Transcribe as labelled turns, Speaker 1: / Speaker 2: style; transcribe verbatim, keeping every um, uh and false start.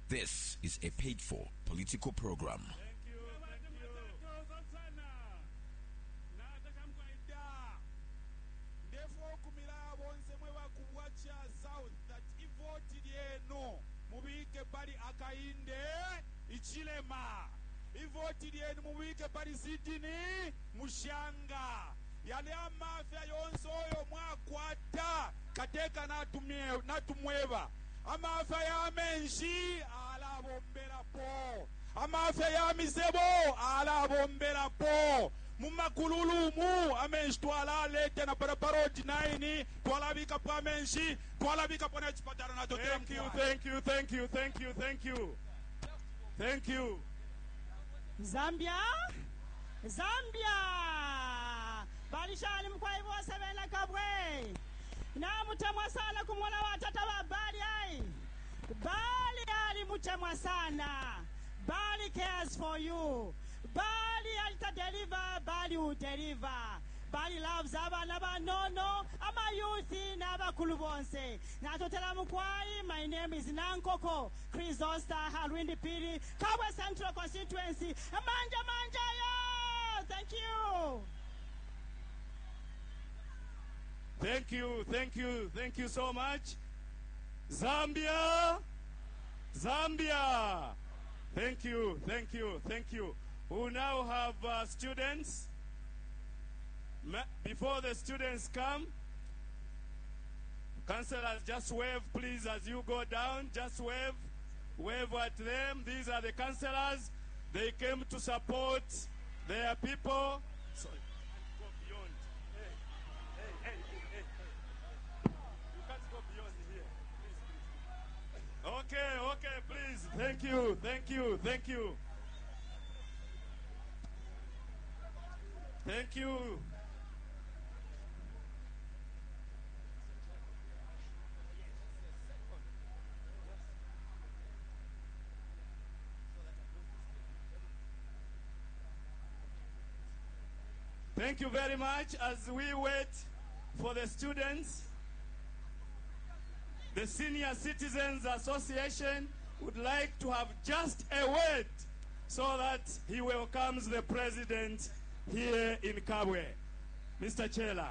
Speaker 1: This is a paid for political program.
Speaker 2: Thank you.
Speaker 3: Thank you.
Speaker 4: Ndefokumira bonse mwe ba ku Bwacha South that ivoti lyenu mubike pali Hakainde Hichilema, ivoti lyenu mubike pali Sydney Mushanga. Yali amafya yonse oyo mwakwata kateka natumye- natumweba amafya ya menshi alabomberapo, amafya ya misebo alabomberapo mumakululumu amenshi twalaleta na parapara nine twalabikapo amenshi twalabikapo nechipatala natotela.
Speaker 2: Thank you, thank you, thank you, thank you, thank you. Thank you.
Speaker 5: Zambia, Zambia, balishani mukwai bose bena Kabwe namutemwa sana kumwona watata wa Bali ai Bali ali mutemwa sana. Bali cares for you. Bali alita deliver. Bali will deliver. Bali loves abana banono, ama youth n'abakulu bonse. Natotela mukwai. My name is Nankoko Chrysosta Halwindi Piri, Kabwe Central Constituency. Manja manja yo, thank you.
Speaker 2: Thank you, thank you, thank you so much. Zambia, Zambia. Thank you, thank you, thank you. We now have uh, students. Ma- Before the students come, councillors, just wave, please, as you go down. Just wave, wave at them. These are the councillors. They came to support their people. Sorry, go beyond. Hey, hey, hey, hey, hey. You can't go beyond here. Please, please. Okay, okay, please. Thank you, thank you, thank you. Thank you. Thank you very much. As we wait for the students, the Senior Citizens Association would like to have just a word so that he welcomes the president here in Kabwe. Mister Chela.